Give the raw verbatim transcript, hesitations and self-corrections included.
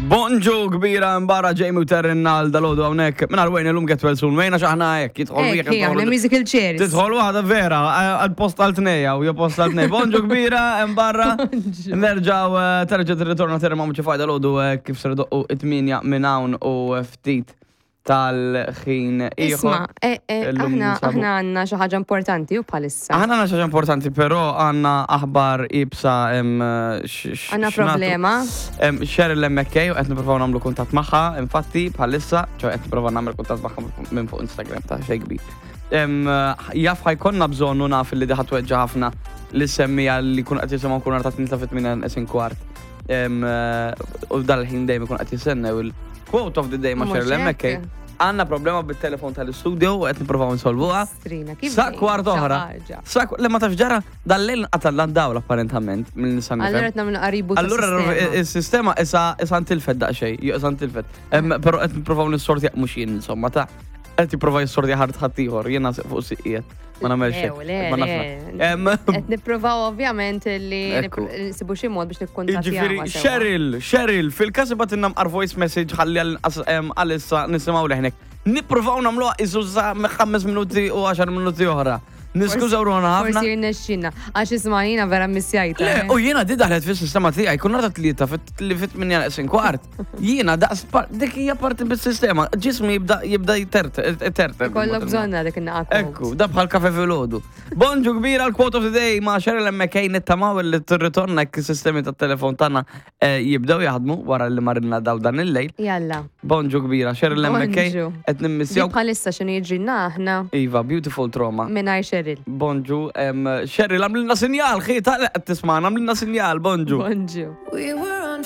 Bonġu kbira mbara Jamie u Terrin għal dal-għodu hawnhekk. Minn għal l-lum get well soon. Wejna xaħna hekk, jidħol Ek, wieħed. aħna musical chairs. Tidħol waħda vera, għal-post għal tnejja u post għal tnej. Bonġu kbira, mbarra. Nerġaw, eh, terġa tirritorna terri ma' muċi fajda l-għodu eh, kif ser doqqu it-tminja minn hawn u ftit tal-ħin Isma, ieħor. eh, eh, Illum aħna ninsabu- aħna għandna xi ħaġa importanti u bħalissa. Aħna għandna xi ħaġa importanti, però għandna aħbar ibsa em, x- x- Għandna x'natu. problema. Em, Cheryl M K u qed nippruvaw nagħmlu kuntatt magħha, infatti bħalissa, ċo qed nipprova nagħmel kuntatt magħha minn fuq Instagram ta' xejn kbir. Em, Jaf ħa jkollna bżonn u naf li diħa tweġġa ħafna li semmija li kun qed jisimgħu kun ta' tnita fit-tmien neqsin kwart. Em, eh, U dal-ħin dejjem ikun qed jistennew il-quote of the day ma' Mhux Cheryl hekk? M K. Għandna problema bit-telefon tal-istudio u qed nippruvaw insolvuha. Strina, kif Sa dejjem kwart xi oħra. ħaġa. Sa le ma tafx ġara dal-lejl qatal dawl apparentament minn nisa Allura qed nagħmlu qaribu. Allura il-sistema issa issa ntilfet daqsxejn, jew issa ntilfet. Em, Però qed nippruvaw nissorti mhux jien insomma ta' qed jipprova jissorti ħadd ħadd ieħor, jiena fuq siqiet. Ma nagħmel xejn. Le, Ma le, nafx. le. Em, Qed nippruvaw ovvjament li Ekku. nsibu xi mod biex nikkuntattjaw. Jiġifieri Cheryl, Cheryl, fil-każ ibatinna mqar voice message ħalli għal- em, għalissa nisimgħu leħnek. Nippruvaw nagħmluha isu sa ħames minuti u għaxar minuti oħra. Niskużaw ruħna ħafna. Forsi jirnexxina. Għax isma' jiena vera missjajta. Le, eh. u jiena di daħlet fis-sistema tiegħi, kun nara tlieta fit li fit minn neqsin kwart. Jiena daqs par- dik hija parti bis-sistema, ġismi jibda jibda jtert, jtert. Kollok bżonna dik in-naqa. Ekku, da bħal kafe filgħodu. Bonġu kbira l-quote of the day ma' Cheryl M K nittamaw li tirritorna jekk is-sistemi tat-telefon tagħna eh, jibdew jaħdmu wara li marinna daw dan il-lejl. Jalla. Bonġu kbira, Cheryl M K Bonġu. qed Di nimmissjaw. bħalissa x'inhu jiġrilna aħna Iva, beautiful trauma. mingħajr Cheryl. Bonġu, em, Cheryl, għamlilna sinjal, xi, ta' qed tisma'na, għamlilna sinjal, bonġu. Bonġu. We were on